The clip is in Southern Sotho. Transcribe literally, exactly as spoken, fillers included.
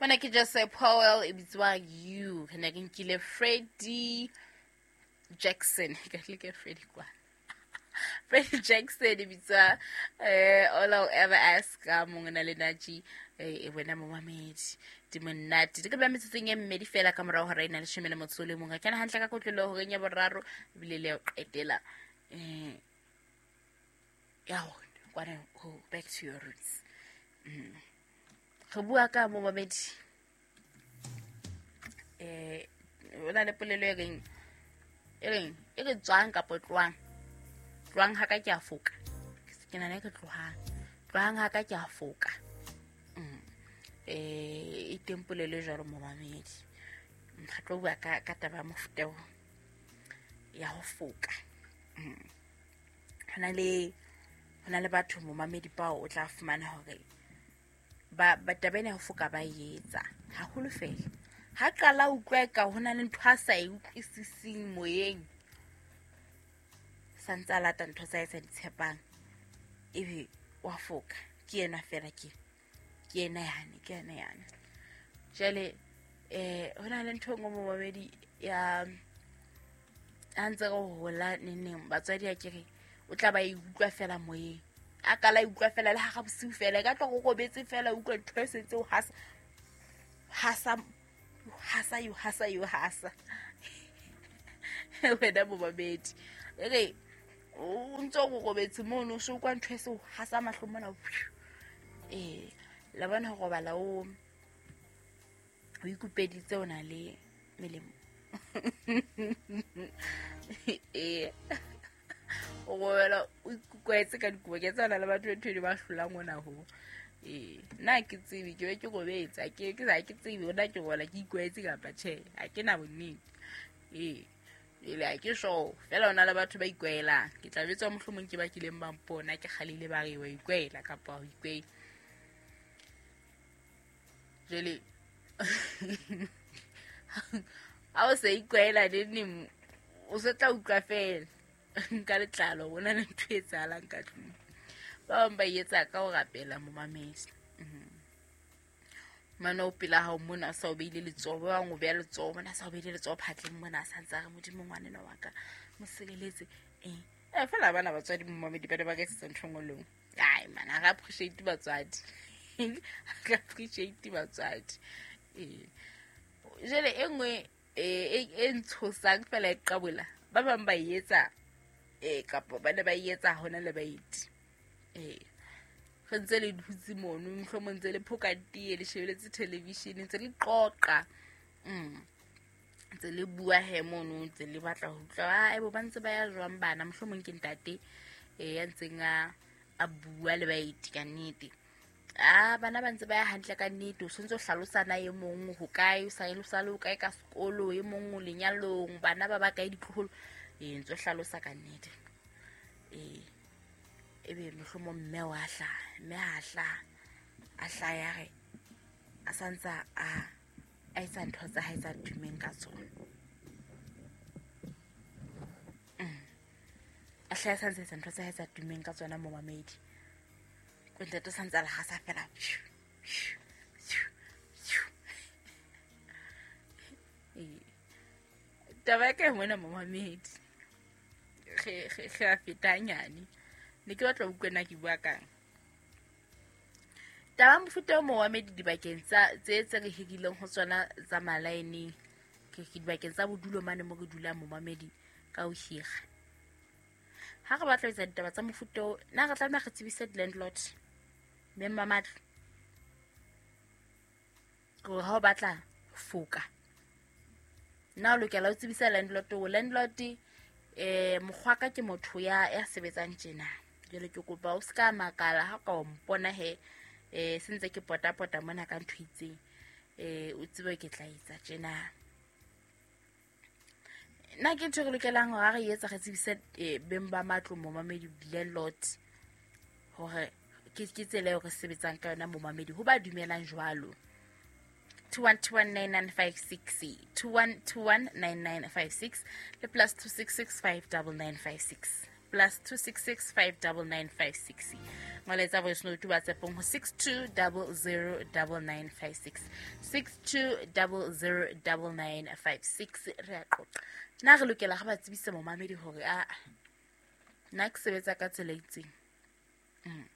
Mona ke Jose Powell e bitswa You. Re ne re nkile Freddie Jackson. Ka tle ke Freddie kwa. Freddie Jackson e bitswa eh All I'll Ever Ask ka mongwe na le Naji eh e wena momamedi. Di monate. Di ka ba metsotsong e mmedi fela ka morao hora e na leshome le motso o le mong. Kena hantle ka kotloloho horeng ya boraro ebile le ya ho qetela. Eh ya rona kwana ho back to your roots. Mm. Re bua ka momamedi. Eh o na le polelo e reng e reng e re tswang kapa tlohang. Tlohang ha ka ke a foka. Ke nahana e re tlohang. Tlohang ha ka ke a foka. Mm. Eh e teng polelo e jwalo momamedi. Re tlo bua ka ka taba ya mofuta o ya ho foka. Mm. Hona le hona le batho momamedi bao o tla fumana hore ba ba taba ena ya ho foka ba e etsa haholo fela. Ha qala o utlwa eka hona le ntho a sa e utlwisising moyeng, sa ntse a lata ntho tsa hae sa di tshepang, ebe wa foka. Ke yena fela ke ke yena yane, ke yena yane. Jwale eh hona le ntho e nngwe momamedi ya ha ntse re hola neneng batswadi a kere o tla ba e utlwa fela moyeng. A kala e utlwa fela le hara bosiu fela, e ka tla go robetse fela o utlwa ntho e setse o hasa hasa hasa yo hasa yo hasa. Wena momamedi e re o ntso o robetse mono o so utlwa ntho e se o hasa mahlo mona. Eh la bona ho robala o o ikupeditse o na le melemo. Eh o robala o ikukwetse ka dikobo, ke tsana le batho ntho e ba hlolang ona ho. Eh nna ke tsebe ke be ke robetse, ha ke ke ha ke tsebe hore na ke robala ke ikwetse kapa tjhe, ha ke na bonnete. Eh ele ha ke sure fela hona le batho ba ikwaelang. Ke tla betswa mohlomong ke ba kileng ba mpona ke kgalile ba re wa ikwaela kapa ho ikwaela. Jwale ha o sa ikwaela neneng o se tla utlwa fela nka letlalo bona le ntho e etsahalang ka tlung. Ba bang ba e etsa ka ho rapela momamedi. Mane o pela hao mona o sa o beile letsoho, ba bang o beha letsoho mona, sa o beile letsoho phatleng mona, a sa ntse a re Modimo ngwanenwa wa ka mo sireletse. Eh eh fela bana batswadi momamedi ba ne ba ka etsetsa ntho e nngwe le nngwe. Ai man, ha re appreciate batswadi. Ha re appreciate batswadi. Eh jwale e nngwe e e ntshosang fela e qabola, ba bang ba e etsa eh kapa ba ne ba e etsa hona le baeti. Eh re ntse le dutse mono, mohlomong ntse le phoka tee, le shebeletse television, ntse le qoqa. Mm. Ntse le bua he mono, ntse le batla ho utlwa, ai bo ba ntse ba ya jwang bana, mohlomong ke ntate eh ya ntseng a a bua le baeti ka nnete. Ah bana ba ntse ba ya hantle ka nnete, o sontse o hlalosa na e mong ho kae, o sa le sa le o kae ka sekolo, e mong o lenyalong, bana ba ba kae ditloholo, eh ntse o hlalosa ka nnete. Eh ebe mohlomong mme wa hlaha, mme ha hlaha, a hlaha ya re a santsa a a etsa ntho tsa hae tsa tumeng ka tsona. Mm. A hlaha santsa etsa ntho tsa hae tsa tumeng ka tsona momamedi. Ko ntate o santsa le hasa fela. Eh taba ya ka e mona momamedi. Re re re a feta nyane. Ne ke batla ho utlwa na ke bua kang. Taba mofuta o momamedi dibakeng tsa tse tse re hirileng ho tsona tsa malaeneng, ke ke dibakeng tsa bodulo mane mo re dulang momamedi ka ho hira. Ha re batla ho etsa ditaba tsa mofuta o, na re tlameha re tsebise di-landlord, beng ba matlo, hore ha o batla foka, na o lokela ho tsebisa landlord hore landlord eh mokgwa ka ke motho ya ya sebetsang tjena. Jwale ke kopa o ska makala ha ka o mpona he eh se ntse ke potapota mona ka ntho itseng, eh o tsebe ke tla etsa tjena. Nna ke ntho e re lokelang hore ha re etsa re tsebise beng ba matlo momamedi landlord hore ke ke tsela eo re sebetsang ka yona momamedi ho ba dumelang jwalo. two one two one nine nine five six, two one two one nine nine five six le plus two six six five double nine five six. plus two six six five double nine five six molaetsa voice note whatsappong ho six two double zero double nine five six six two double zero double nine five six re a qoqa na re lokela ga ba tsebise momamedi hore a nna ke sebetsa ka tsela e itseng. Mm.